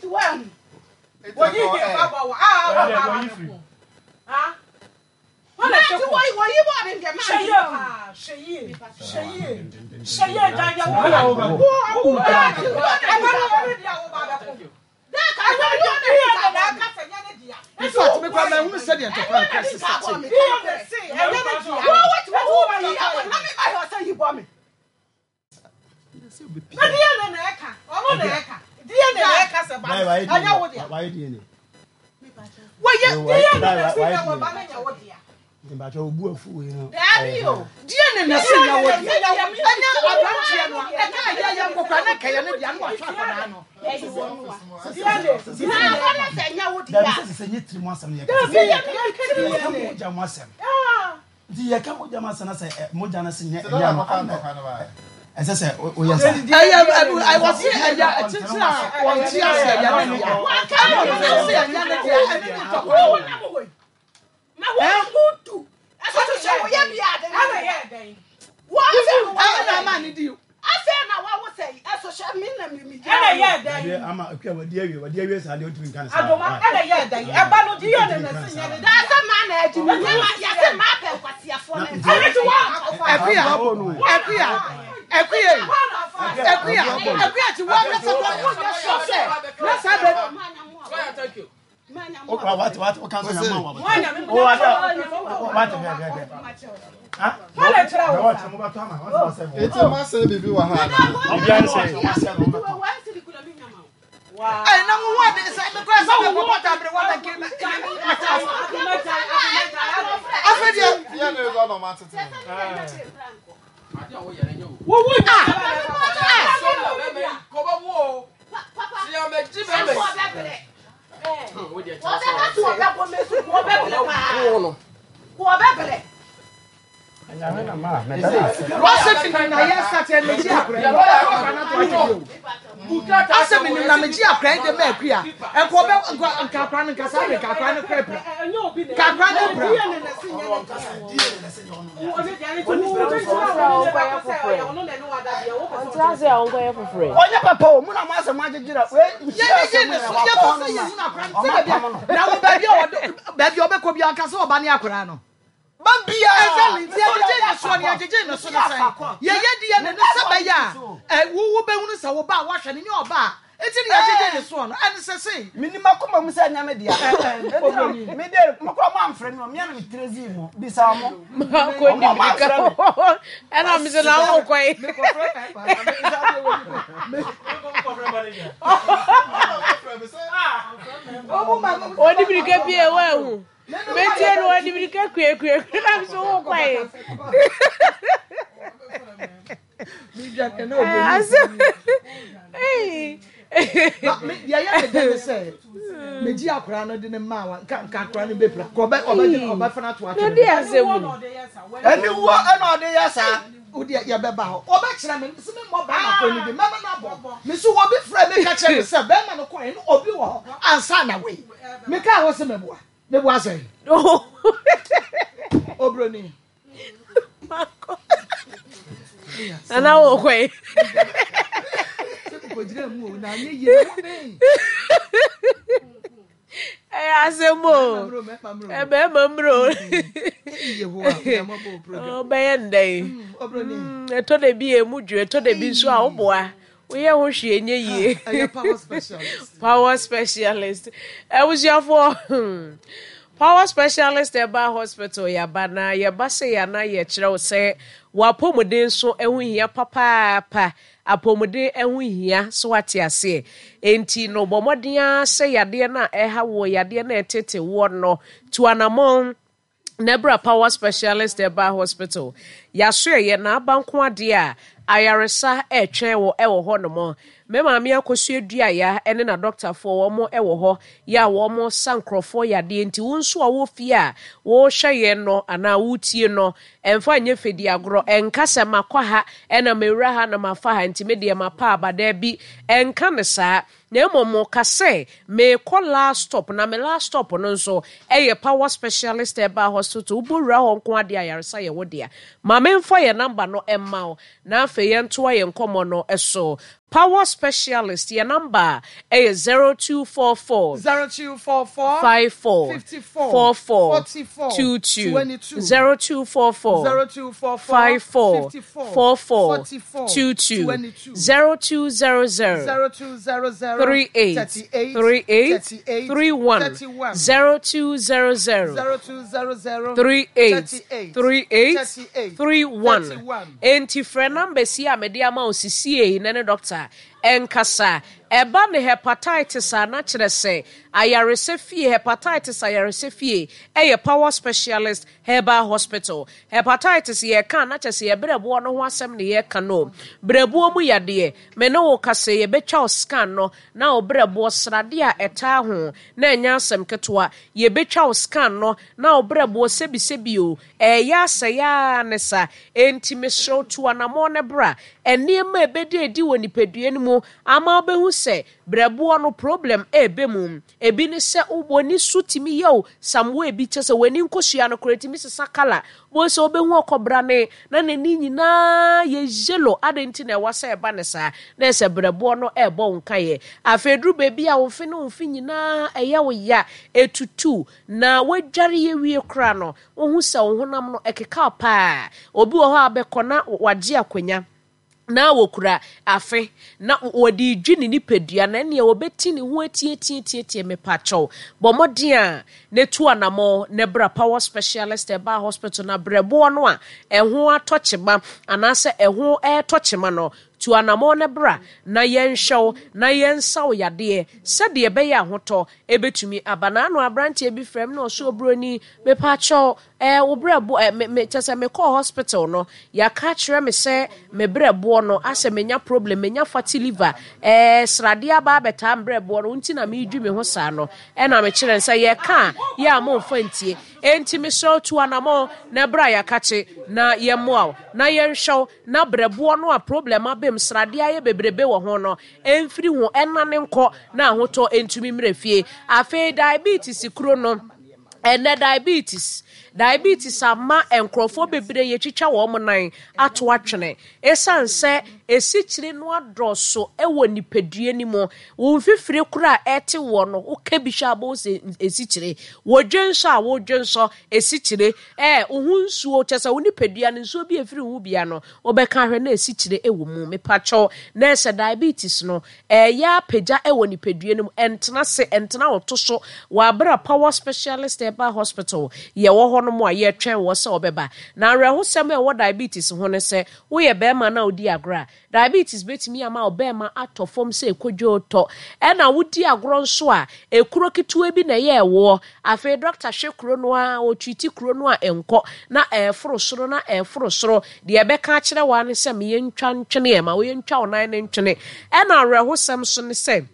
Nti woahu. Wɔyi deɛ ba bɔ wɔ a wɔ ba wɔ ko. Ha? Wɔn na ɛte ko. Wɔyi bɔ ne deɛ maa. Hwɛ yie paa, hwɛ yie, hwɛ yie, hwɛ yie gya deɛ wo ba. Wo wo ɛba no wɔn deɛ wo ba bɛ ko. Ɛnyɛ deɛ ne deɛ na aka sɛ nyɛ ne deɛ. In fact, me kwa mahunu sɛdeɛ ntɔkwa no kora sista te. Ɛnyɛ ne deɛ. Wo wo ti wo ba yi awɔ na me ba yɛ ɔsɛ yi bɔ me. Na DNA na ɛka, ɔno na ɛka. DNA na ɛka sɛ ba no, ɛnyɛ wo dea. Wɔyɛ DNA na ɛsi sɛ wɔ ba no nyɛ wo dea. Daabi o. DNA na ɛsi nyɛ wo dea. Ɛnyɛ aberanteɛ no a, ɛka ɛyɛ yɛ nkɔkora na ɛka yɛ ne dea na wahwɛ akwadaa no. DNA na aba no sɛ nyɛ wo dea. Dabi sɛ sɛ nyɛ tirim asɛm no yɛ kasa. Yɛ mogya mu asɛm. Nti yɛka mogya mu asɛm na sɛ mogya no se nyɛ ɛnyɛ no ɛsɛ sɛ woyɛ saa. Ɛyɛ ɛwɔ se ɛyɛ tenten a wɔnte ase ɛyɛ ne dea. Ɛna ɔno nso se ɛnyɛ ne dea ɛne ne ntɔkwa no. Na wɔn mu du. Ɛsɛ sɛ wɔyɛ bi ade. Ɛna yɛ dɛn? Ɛna ama ne di. Afei na wawo sɛ yi ɛso hyɛ me na me mi gyina. Ɛna yɛ dɛn? Dabi ama akua wadi awie wadi awie saa deɛ ɔntumi nka ne saa. Adoma ɛna yɛ dɛn? Ɛba no di yɛ ne na si nyɛ ne. Daasa maa na agyi mi nyɛ ma yɛsɛ maa pɛ nkwasiafoɔ ne. Ɛna ti wɔ akɔfa. Akuya akuya akuya akuya akuya ti wɔ akasa kɔ wonyɛ sɔ sɛ na saa bɛ. Eti ma sɛ biribi wɔ ha na. Ɛyi na mo ho ade sɛ mi kura sɛ mi kɔ tabiri wa na nke na afɛ deɛ. Yɛ ne resɔ na ɔmo atete. Wɔsɛ mi nim na yɛ sati ɛna gye akora yi asɛ mi nim na mi gye akora yi de mɛ akuya nka ɔbɛ nka nka akora no nka saa de nka akora no kora pira nka akora no pira. Ɔnyɛ papa o mu na mo asɛ mo agyegyere wei nhyira Yɛgyegye ne so yɛpɛ sɛ yɛhunu akora no sɛ baabi a na wo baabi a ɔde baabi a ɔbɛkɔ bi anka sɛ ɔba ne akora no. Ba biara. Exactly nti yɛgyegye ne soɔ no yɛgyegye ne so no sɛn yɛyɛ DNA no sɛ bɛyɛ a ɛ wo wobɛhunu sɛ wo ba a woahwɛ no nyɛ ɔba a nti ne yɛgyegye ne soɔ no ɛne sɛ sei. Menim akoma mu sɛ ɛnyɛ me dea. Enti na me de mo koraa mo amfrɛ me o, me ara na me tiri dzii mo. Bisa wɔn. Makɔ di mirika ɛna me sɛ na wo kɔ yi. Ɔdi mirika bi a ɛwɔ ɛho. Metie no ɔdi mirika kuekue na me sɛ wo kɔ yi. Asɛm deɛ ɛyɛ me dɛ ne sɛ megye akwaraa no de ne maa wa nka nka akwaraa no bɛpira ka ɔbɛ ɔbɛgye no ɔbɛfa no ato atwene de asɛm mu ɛne wuo ɛna ɔde yɛ saa wodeɛ yɛbɛba hɔ ɔbɛkyerɛ me sɛ memmɔ bɛrima kɔ no bi mɛma no abɔ me so obi frɛ me ka kyerɛ me sɛ bɛrima no kɔɛ no obi wɔ hɔ ansa na wei mekaa hɔ sɛ meboa meboa sɛ obroni Nana wo kɔ yi. Ɛyɛ asɛm o. Ɛbɛrima mmerɛ o. Ɔbɛyɛ ndɛ yi. Ɛtɔ da bi emu dwo, ɛtɔ da bi nso a woboa. Woyɛ ho hwee nyɛ yie. Ɛyɛ power specialist. Power specialist. Abusuafoɔ, hmm, power specialist ɛba hospital yaba na yɛba sɛ yɛ na yɛkyerɛ wo sɛ w'apɔmuden so ɛho hia papaapa. Apɔmuden ɛho hia so wate aseɛ. Enti no bɔ mmɔden ara sɛ yadeɛ no a ɛha woɔ, yadeɛ no a ɛtete woɔ no, tu anamɔn Na bra Power Specialist Herbal Hospital, Yɛasoɛeɛ na aba nko adeɛ a, ayaresa retwɛn wo wɔ hɔ nom. Me maame Akosua Duaya ne n'adɔktafoɔ wɔn wɔ hɔ yɛ a wɔn sa nkorɔfoɔ yadeɛ nti wo nso a wowɔ fie a worehwɛ yɛn no anaa woretie no ɛmfa nyɛ fɛdi agorɔ ɛnka sɛ makɔ ha ɛna mewura ha na mafa ha nti me deɛ mapa aba daabi ɛnka no saa Na mmom ka sɛ, Merekɔ last stop, na me last stop no nso yɛ Power Specialist Herbal Hospital. Wobɔ wura hɔ nko ara deɛ ayaresa yɛ wo dea. Ma memfa yɛn number no mma wo, na afei yɛntoa yɛn nkɔmmɔ no so. Power Specialist yɛ number a ɛyɛ 0244 0244 54 54 44 44 22 22 0244 0244 54 54 44 44 22 22 0200 0200 38 38 38 38 31 31 0200 0200 38 38 38 38 31 31. Enti frɛ numbers yi a mede ama wo sisiei na ne doctor ɛnkasa. Ɛba ne hepatitis a na kyerɛ sɛ ayaresa fie, hepatitis ayaresa fie ɛyɛ Power Specialist Herbal Hospital. Hepatitis yɛka a na kyerɛ sɛ yɛ berɛboɔ no ho asɛm na yɛka no. Berɛboɔ mu yadeɛ, me ne wo kasa yi yɛbɛtwa wo scan no na wo berɛboɔ sradeɛ a ɛtaa ho na ɛnyɛ asɛm ketewa. Yɛbɛtwa wo scan no na wo berɛboɔ sɛbisɛbi o, ɛreyɛ asɛe ara ne sa. Enti mesrɛ wo tu anammɔn na bra. Nneɛma a ɛbɛdi adi wɔ nipadua no mu ama wobɛhu sɛ berɛboɔ no problem ɛreba mu. Ebi ne sɛ w'ani so tumi yɛ wo some way bi, kyerɛ sɛ w'ani nkosua no koraa ɛtumi sesa colour. Wobɛhu sɛ wobɛhu ɔkɔbrane na n'ani nyinaa yɛ yellow. Adɛn nti na ɛwɔ sɛ ɛba no saa? Na ɛsɛ berɛboɔ no ɛrebɔ wo nkaeɛ. Afei ɛduru baabi a wo mfe ne wo mfe nyinaa ɛyɛ wo ya, ɛtutu, na woadware awie koraa no, wohu sɛ wo honam no ɛkekaw paa. Obi wɔ hɔ a bɛkɔ na wagye akonya na wɔkura afe na wɔde redwi ne nipadua na ɛneɛ wɔbɛti ne ho atiatiatiatia. Mepakyɛw, bɔ mmɔden a na tu anamɔ na bra Power Specialist Herbal Hospital na brɛboɔ no a ɛho atɔ kyema anaasɛ ɛho ɛretɔ kyema no, tu anamɔ na bra na yɛnhwɛ wo na yɛnsa wo yadeɛ sɛdeɛ ɛbɛyɛ ahotɔ ɛbɛtumi aba. Na ano aberanteɛ bi frɛ me na ɔsɛ oburoni, mepakyɛw, ɛɛ wo brɛboɔ, ɛ me me kyɛ sɛ mekɔɔ hospital no, yɛaka akyerɛ me sɛ me brɛboɔ no asɛ menya problem, menya fatty liver, ɛɛ sradeɛ aba abɛtaa me brɛboɔ no, nti na meredwi me ho saa no. Ɛna mekyerɛ no sɛ yɛka a, yɛ a momfa ntie. Enti mesrɛ wo tu anamɔn na bra yɛakakye na yɛmmoa wo na yɛnhwɛ wo na brɛboɔ no a problem abam, sradeɛ ayɛ bebrebe wɔ ho no, ɛmfiri ho, ɛnnane nkɔ na ahotɔ ntumi mmra fie. Afei diabetes kuro no, ɛnnɛ diabetes, diabetes ama nkurɔfoɔ bebree yɛtwitwa wɔn nan ato atwene ɛsiane sɛ esikyire no adɔɔso wɔ nipadua no mu. Wo mfifire koraa a ɛte woɔ no, woka bi hwɛ a wobɛhu sɛ esikyire. Wodwensɔ a wodwensɔ esikyire. Ɛɛ, wo ho nsuo, kyerɛ sɛ wo nipadua no nsuo bi a ɛfiri wo ho bia no, Wobɛka ahwɛ na asikyire wɔ mu. Mepakyɛw, na ɛsɛ diabetes no ɛyɛ apagya wɔ nipadua no mu, ɛntena ase, ɛntena wo to so wɔ abere a Power Specialist Herbal Hospital yɛwɔ hɔ nom a yɛretwɛn wɔ sɛ wɔbɛba. Na awerɛhosɛm a ɛwɔ diabetes ho ne sɛ, woyɛ barima na wodi agorɔ a, diabetes bɛtumi ama wo barima atɔ fam sɛ kodwoo tɔ. Ɛna wodi agorɔ nso a, ekuro ketewa bi na ɛyɛ ɛwoɔ. Afei dɔkta hwɛ kuro no ara, ɔtreati kuro no a ɛnkɔ, na ɛreforo soro, na ɛreforo soro. Deɛ ɛbɛka akyerɛ wo ara ne sɛ, ma yɛntwa ntwene ɛ, ma yɛntwa wo nan no ntwene. Ɛna awerɛhosɛm nso ne sɛ,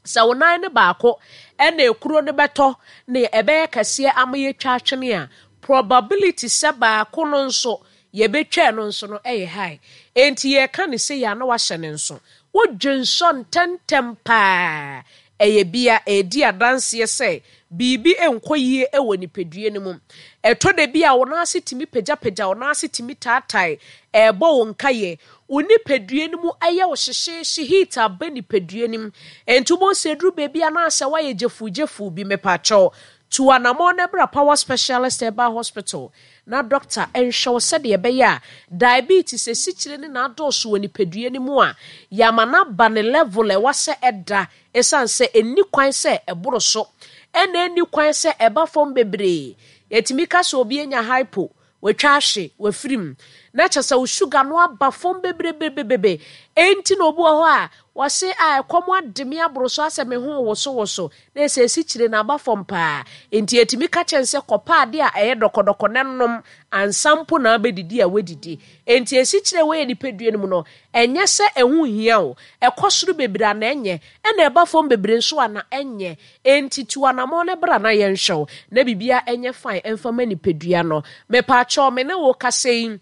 sɛ wo nan no baako ɛna ekuro no bɛtɔ na ɛbɛyɛ kɛseɛ ama yɛatwa atwene a, probability sɛ baako no nso yɛbɛtwa ɛno nso no ɛyɛ high. Enti yɛreka no sei a na wahyɛ no nso. Wodwensɔ ntɛmntɛm paa. Ɛyɛ bi a ɛredi adanseɛ sɛ biribi nkɔ yie wɔ nipadua no mu. Ɛtɔ da bi a wo nan ase tumi pagyapagya, wo nan ase tumi taatae, ɛrebɔ wo nkaeɛ. Wo nipadua no mu yɛ wo hyehyeehye, heat aba nipadua no mu. Enti wobɛhu sɛ ɛduru baabi a na asɛ woayɛ gyefuugyefuo bi. Mepakyɛw, tu anammɔn na bra Power Specialist Herbal Hospital na dɔkta nhwɛ wo sɛdeɛ ɛbɛyɛ a diabetes, asikyire ne na adɔɔso wɔ nipadua no mu a, yɛama no aba ne level a ɛwɔ sɛ ɛda ɛsiane sɛ ɛnni kwan sɛ ɛboro so ɛna ɛnni kwan sɛ ɛba fam bebree. Yɛtumi ka sɛ obi anya hypo, watwa ahwe, wafiri mu, na kyerɛ sɛ wo sugar no aba fam bebrebebebebe. Enti na obi wɔ hɔ a, wɔse a ɛkɔm ade me aboro so asɛ me ho wosowoso, na ɛsɛ asikyire no aba fam paa. Enti yɛtumi ka kyerɛ no sɛ kɔpɛ adeɛ a ɛyɛ dɔkɔdɔkɔ na nom ansa mpo na abɛdidi a woadidi. Enti asikyire a ɛwɔ yɛn nipadua no mu no, ɛnyɛ sɛ ɛho nhia o, ɛkɔ soro bebree a na ɛnyɛ, ɛna ɛba fam bebree nso a na ɛnyɛ. Enti tu anammɔn na bra na yɛnhwɛ wo, na biribiara nyɛ fine mfa ma nipadua no. Mepaakyɛw, me ne wo kasa yi.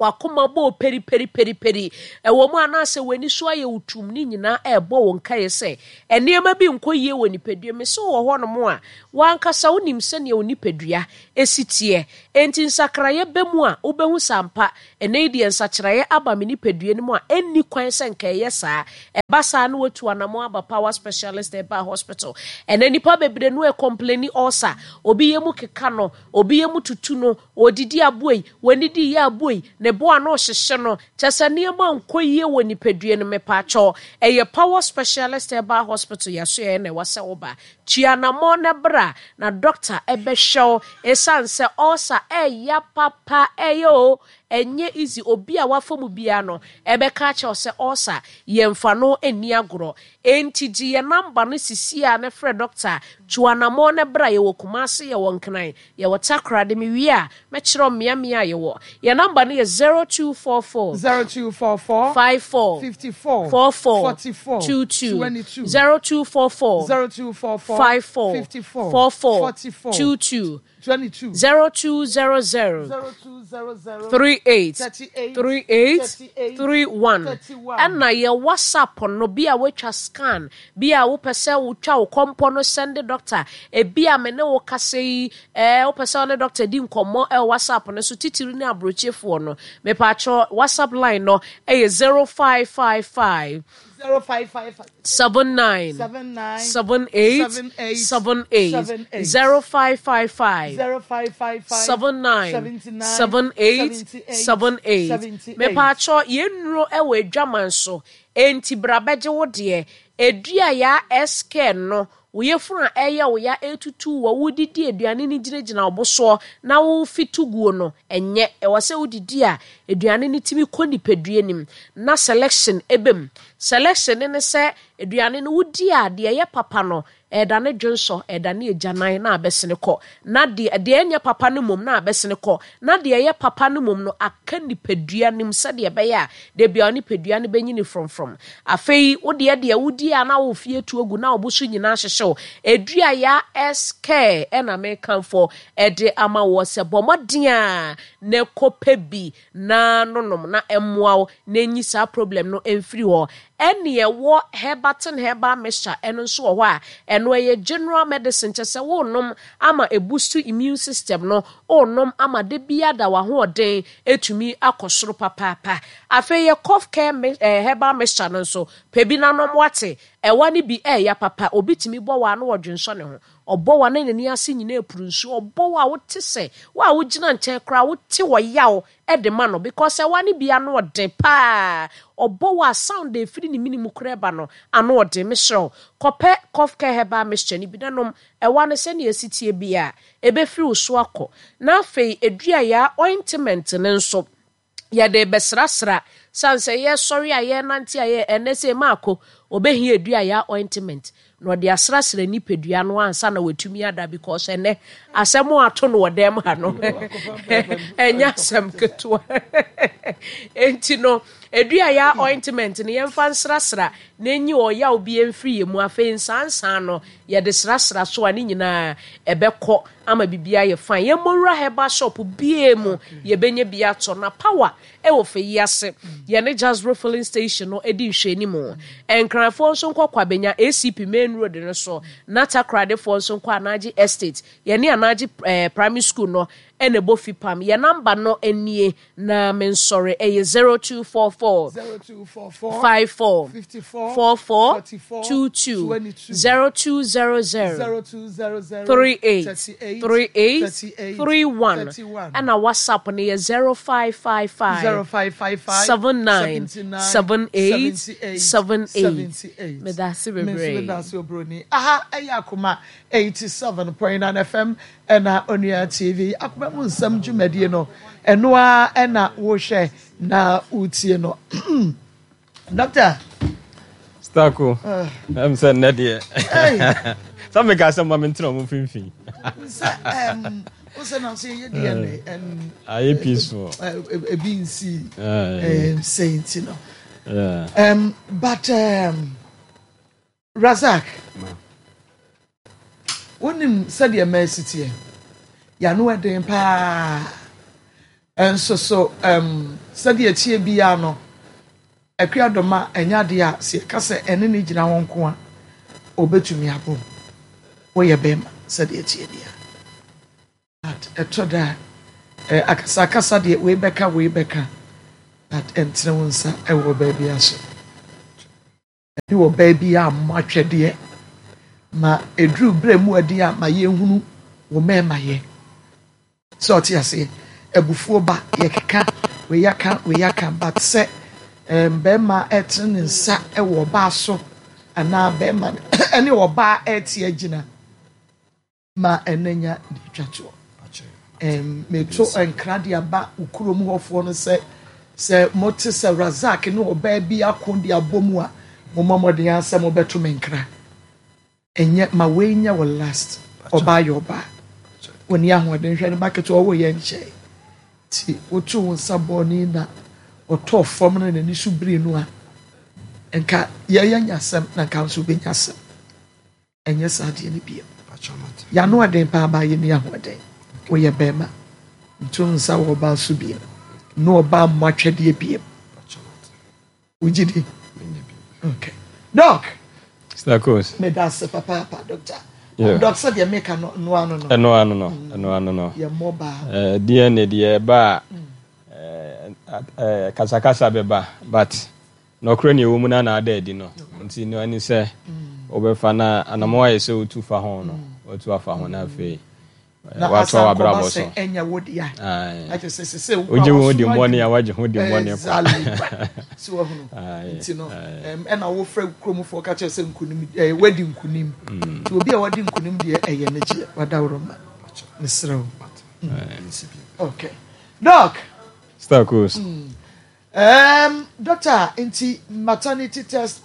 W'akoma bɔ wo peri-peri-peri-peri. Ɛwɔ mu anaasɛ w'ani so ayɛ wo tumm, ne nyinaa ɛrebɔ wo nkaeɛ sɛ nneɛma bi nkɔ yie wɔ nipadua mu. Sɛ wowɔ hɔnom a, w'ankasa wonim sɛdeɛ wo nipadua si teɛ. Enti nsakraeɛ ba mu a, wobɛhu sɛ ampa, ɛnnɛ yi deɛ nsakyeraeɛ aba me nipadua no mu a ɛnni kwan sɛ nka ɛyɛ saa. Ɛba saa na woatu anammɔn aba Power Specialist Herbal Hospital. Ɛnnɛ nnipa bebree no ɛcomplaini ulcer, obi yam keka no, obi yam tutu no, Ɔredidi aboa yi, wannidi yɛ aboa yi, ne bo ano rehyehye no, kyerɛ sɛ nneɛma nkɔ yie wɔ nipadua no mu, mepaakyɛw, ɛyɛ Power Specialist Herbal Hospital yɛasoɛeɛ na ɛwɔ sɛ woba. Tu anammɔn na bra na dɔkta bɛhwɛ wo, ɛsiane sɛ ulcer ɛya papa, ɛyɛ o, ɛnyɛ easy, obi a wafa mu biara no ɛbɛka akyerɛ wo sɛ ulcer yɛmfa no nni agorɔ. Enti gye yɛn number no sisi ara na frɛ dɔkta, tu anammɔn na bra, yɛwɔ Kumasi, yɛwɔ Nkran, Yɛwɔ Takoradi, mewie a, mɛkyerɛ wo mmeammea a yɛwɔ. Yɛn nɔmba no yɛ 0244. 0244. 54. 54. 44. 44. 22. 22. 0244. 0244. 54. 54. 44. 44. 22. 22. 0200. 0200. 38. 38. 38. 38. 31. 31. Ɛna yɛ WhatsApp no, bi a woatwa scan, Bi a wopɛ sɛ wotwa wo kɔmpɔ no sɛnde dɔkta. Ebi a me ne wo kasa yi, ɛɛ wopɛ sɛ wo ne dɔkta di nkɔmmɔ ɛwɔ WhatsApp no so, titiri ne aburokyefoɔ no. Mepaakyɛw, WhatsApp line no ɛyɛ 0555. 0555. 79. 79. 78. 78. 78. 78. 0555. 0555. 79. 79. 78. 78. 78. 78. Mepaakyɛw, yɛn nnuro ɛwɔ adwaman so. Enti bra bɛgye wo deɛ. Edua yaa SK no, wo yafunu a ɛyɛ wo ya ɛretutu wo a wodidi aduane no gyinagyina wo bo soɔ na wofi to guo no, ɛnyɛ. Ɛwɔ sɛ wodidi a aduane no tumi kɔ nipadua no mu na selection ba mu. Selection no ne sɛ aduane no wodi a deɛ ɛyɛ papa no Ɛredane dwonsɔ, ɛredane agyanan na abɛsene kɔ, na deɛ, deɛ ɛnyɛ papa no mmom na abɛsene kɔ, na deɛ ɛyɛ papa no mmom no aka nipadua no mu sɛdeɛ ɛbɛyɛ a da biara wo nipadua no bɛnyini frɔmfrɔm. Afei wo deɛ deɛ wodie a na wo fie atu agu na wo bo so nyinaa hyehye wo. Adua ya SK na mekamfo de ama woɔ sɛ bɔ mmɔden a na kɔpɛ bi na nonom na ɛmmoa wo na ɛnyi saa problem no mfiri hɔ. Ɛne ɛwɔ Herbatin herbal mixture ɛno nso wɔ hɔ a ɛno ɛyɛ general medicine kyɛ sɛ wonom ama ɛboost immune system no, wonom ama da biara da w'ahoɔden ɛtumi akɔ soro papaapa. Afei yɛ cough care eh, herbal mixture no nso pɛ bi na nom wate, ɛwa no bi ɛɛya papa, obi tumi bɔ wa na ɔdwensɔ ne ho, ɔbɔ wa na n'ani ase nyinaa ɛpuru nsuo, ɔbɔ wa a wote sɛ wo a wogyina nkyɛn koraa wote ɔyaw de ma no because ɛwa no bi ano ɔden paa ɔbɔ wo a sound a ɛfiri ne mene mu koraa ba no ano ɔden mesrɛ wo kɔpɛ cough care herbal mixture no bi na nom ɛwa no sɛnea ɛsi teɛ biara ɛbɛfiri wo so akɔ na afei aduayaa ointment no nso yɛde rebɛsrasra sane sɛ yɛsɔre a yɛnante a yɛ ɛnɛ sɛ maako ɔbɛhia aduayaa ointment Na ɔde asrasra nipadua no ansa na watumi ada because ɛnɛ asɛm a ato no wɔ dɛm ha no ɛnyɛ asɛm ketewa. Enti no edua ya ointment no yɛmfa nsrasra na enyi ɔyaw bi mfiri yɛn mu. Afei nsansan no yɛde srasra so a ne nyinaa ɛbɛkɔ ama biribi ayɛ fine. Yɛmmɔ nwura herbal shop biara mu yɛbɛnya bi atɔ na power Wɔ fɛ yi ase, yɛne Jasbro Filling Station no di nhwɛanimu. Nkranfoɔ nso nkɔ Kwabenya ACP Main Road no so, na Takoradefoɔ nso nkɔ Anagye Estate. Yɛne Anagye eh, Primary School no na ɛbɔ fipam. Yɛn namba no nie, na mensɔre, ɛyɛ 0244 0244 54 54 44 44 22 22 0200 0200 38 38 38 38 31 31 ɛna WhatsApp no yɛ 0555 0555 79 79 78 78 78 78. Meda ase Me nso bebree. meda ase obroni. Aha ɛyɛ Akoma 87.9 FM ɛna Onua TV. Akoma mu nsɛm dwumadie no ɛno ara ɛna wohwɛ na wotie no. Doctor. Stako. Ɛm sɛ nnɛ deɛ. Sɛ meka sɛ ma mentena ɔmo mfimfini. Sɛ ɛm wosɛ na sɛ yɛ DNA ɛn. Ayɛ peaceful. Ebi nsi ɛm sɛ nti no. But Razak, wonim sɛdeɛ mmaa si teɛ. Yɛano ɛden paa. Nso so um, sɛdeɛ ɛteɛ biara no, Akua Doma ɛnyɛ adeɛ a sɛ yɛka sɛ ɛne no gyina hɔ nko a, ɔbɛtumi abom. Woyɛ bɛrima sɛdeɛ ɛteɛ biara. But ɛtɔ da a, eh, akasakasa deɛ wei bɛka wei bɛka, but ɛntene wo nsa ɛwɔ baabi aso. Ɛne ɔbaa bi ammɔ atwɛdeɛ. Ma ɛduru berɛ mu adi a ma yɛnhunu wo mmarima yɛ. Sɛ ɔte aseɛ, abufuo ba, yɛkeka, wei aka, wei aka, but sɛ um, bɛrima ɛtene ne nsa wɔ ɔbaa so anaa bɛrima ɛne ɔbaa ɛte agyina. Ma ɛnnɛ nya deɛ ɛtwa toɔ. Ɛm, meto nkra de aba wo kurom hɔfoɔ no sɛ, sɛ mote sɛ Razak ne ɔbaa bi ako de abɔ mu a, mommɔ mmɔden ara sɛ mobɛto me nkra. Ɛnyɛ, ma wei nyɛ wo last. Ɔbaa yɛ ɔbaa. Ɔnni ahoɔden. Hwɛ ne ba ketewa, ɔwoo yɛ nkyɛe. Nti wotoo wo nsa bɔɔ ne na ɔtɔɔ fam na n'ani so birii no a, nka yɛyɛ nya asɛm na nka nso wobɛnya asɛm. Ɛnyɛ saa adeɛ no bio. Y'ano ɔden paa baa yɛnni ahoɔden. Woyɛ bɛɛma. Nto nsa wɔ ɔbaa so bio. Ne ɔbaa mmɔ atwɛdeɛ bio. Wogye di? Okay. Doc. Stakos. Meda ase papaapa doctor. Yeah. Doc sɛ deɛ meka no no ano no. Ɛno ano no. Ɛno ano no. Yɛ mmɔ baa. Eh, DNA deɛ ɛba a eh, kasakasa bɛba but Nɔkorɛ nea ɛwɔ mu no ara na ada adi no nti no ɛne sɛ wobɛfa na anamɔn ayɛ sɛ wotu fa ho no watu afa ho na afei watoa w'abrabɔ so. Wogye wo ho di mmɔne a wagye ho di mmɔne kwa. So wahunu nti no ɛna wofrɛ kuromfoɔ ka kyerɛ sɛ nkunim wadi nkunim nti obi a wadi nkunim deɛ ɛyɛ ne gyeɛ wadaworo ma mesrɛ wo. Okay. Doc. Star Coast. Erm doctor nti maternity test.